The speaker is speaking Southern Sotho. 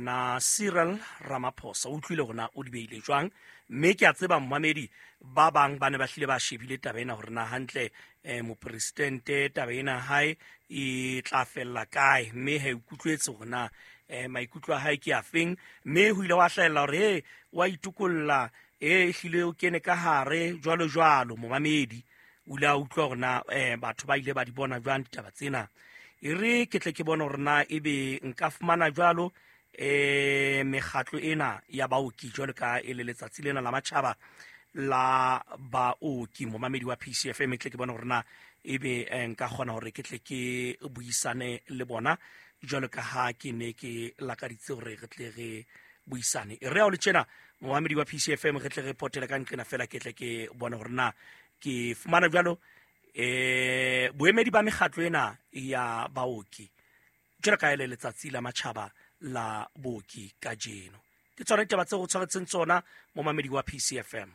Yena Cyril Ramaphosa o utlwile hore na o di beile jwang, mme ke a tseba momamedi ba bang ba ne ba hlile ba shebile taba ena hore na hantle mopresidente taba ena hae e tla fella kae, mme ha ikutlwetse hore na maikutlo a hae ke a feng, mme ho ile wa hlahella hore he wa itokolla, e hlile o kene ka hare jwalo jwalo. Momamedi o ile a utlwa hore na batho ba ile ba di bona jwang ditaba tsena. E re ke tle ke bone hore na ebe nka fumana jwalo mekgatlo ena ya baoki jwalo ka e le letsatsi lena la matjhaba la baoki. Momamedi wa PCFM, e tle ke bone hore na ebe nka kgona hore ke tle ke buisane le bona jwalo ka ha ke ne ke lakaditse hore re tle re buisane. E re ha o le tjena momamedi wa PCFM, re tle re potele ka nqena fela, ke tle ke bone hore na ke fumana jwalo boemedi ba mekgatlo ena ya baoki jwalo ka ele letsatsi la matjhaba la booki kajeno. Ke tsona ditaba tseo o tshwaretseng tsona momamedi wa PCFM.